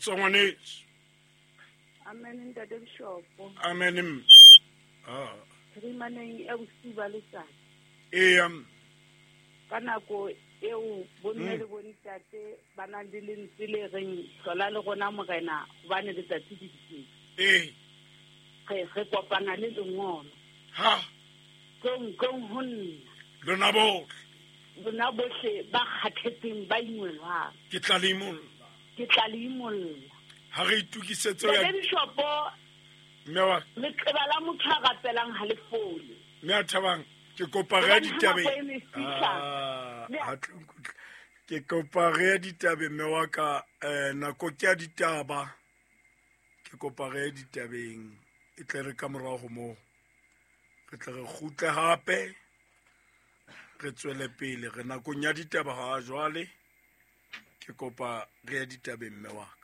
Kgotso ngwaneso. Amen ntate Bishopo. Amen mme. Ah. Phirimaneng ya bosiu ba letsatsi. Eya mme. Ka nako eo bomme le bontate ba nang le lentswe le reng hlola le rona morena hobane letsatsi le diketse. Ee. Re re kopana le lengolo. Ha. Tlong tlong ho nna. Lona bohle. Lona bohle ba kgathetseng ba ingwelwang. Ke tla le imolla. Ke tla le imolla. Ha re itokisetse ho ya. Ntate Bishopo. Mme wa. Leqeba la motho a rapelang ha le fole. Mme a thabang ke kopa re ya ditabeng. Ah, ha tlo nkutlwa. Ke kopa re ya ditabeng mme wa ka eh, nako ke ya ditaba. Ke kopa re ya ditabeng e tle re ka morao ho moo. Re tle re kgutle hape re tswele pele re nakong ya ditaba ha jwale. Ke kopa re ya ditabeng mme wa ka.